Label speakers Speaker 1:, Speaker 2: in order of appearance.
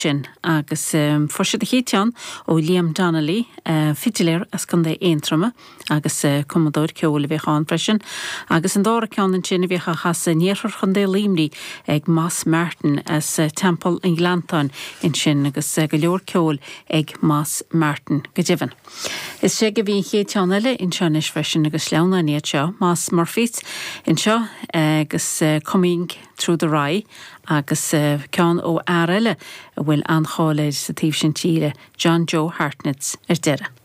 Speaker 1: Sin agus fuair siad an chéad cheann ó Liam Donnelly, fidiléir as Contae Aontroma agus cumadóir ceoil a bhíodh ann freisin, agus an dara ceann ansin a bhíodh á chasadh in iarthar Chontae Luimnigh ag Moss Martin as Teampall an Ghleanntáin ansin agus go leor ceoil ag Moss Martin go deimhin. Is ea bhí an chéad cheann eile anseo anois freisin agus sleamhnáin iad seo, Moss Murphys anseo agus Coming Through the Rye agus ceann ó fhear eile a bhfuil an-cháil air sa taobh sin tíre, John Joe Hartnett, ar deireadh.